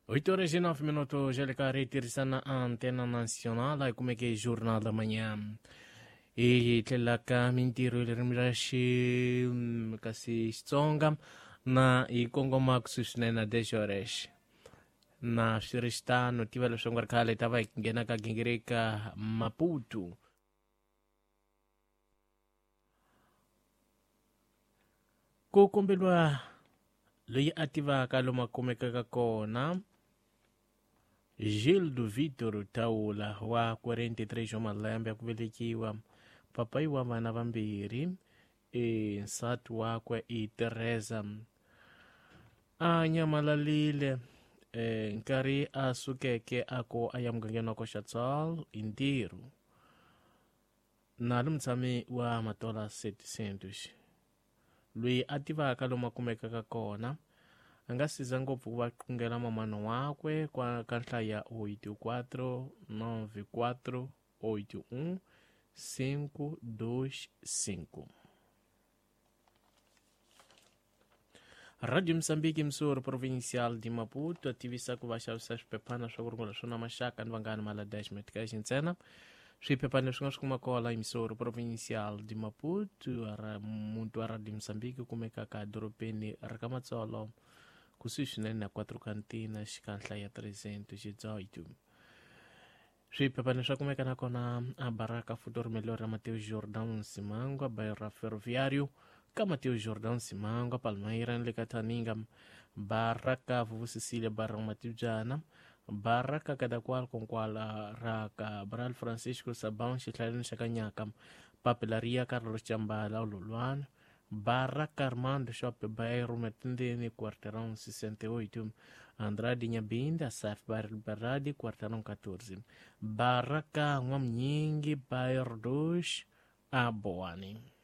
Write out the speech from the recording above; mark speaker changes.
Speaker 1: 8 horas e 9 minutos, LKR tirhisana Antena Nacional, hi kumeke Jornal da Manhã. Hi tlhela ka mintirho hi ririmi ra xi kasi Xitsonga na hi kongoma kusuhi swinene na 10 horas. Na swi ri xitano tiva leswaku nga ri khale hi ta va hi nghena ka gingirika Maputo. Ku komberiwa loyi a tivaka lomu a kumekaka kona Gildo Vitor Taula wa 43 wa malembe ya ku velekiwa, papayi wa vana vambirhi, e nsati wakwe i Teresa. A nyamalalile e, nkarhi a sukeke a ko a ya mugangeni wa Koxatsal hi ntirho. Nalo mutshami wa Matola 700 loyi a tivaka lomu a kumekaka kona a nga siza ngopfu ku va qungela mamana wakwe kwa ka nhlayo ya 84 94 81 525. Radio Mozambique Msuri Provincial de Maputo tivisa ku va xavisa swiphephana swa ku rungula swona maxaka ni vanghana mala dash metcash ntsena. Swiphephana leswi nga swi kuma kola Msuri Provincial de Maputo ra muti wa Radio Mozambique kumekaka edorobeni ra ka Matsolo kusuhi swinene na 4 Cantina xikanhla ya 318. Swiphephana swa kumeka nakona a Baraka Futuro Melhor ra Mateus Jordão Simangwa bairro ra Ferroviário ka Mateus Jordão Simangwa Palmeira ni le ka Thaninga Baraka Vuvu Cecília Barra Matibyana Baraka Kadakwal Konkwala ra Cabral Francisco Sabão xihlaleni xa Kanyaka Papelaria Carlos Chambala Lolwana Baraka Armando Shop Bairro Matindeni Quarteirão 68 Andrade Nyabinda Saf Bairro Liberdade Quarteirão 14 Baraka N'wamnyingi Bairro 2 Aboane.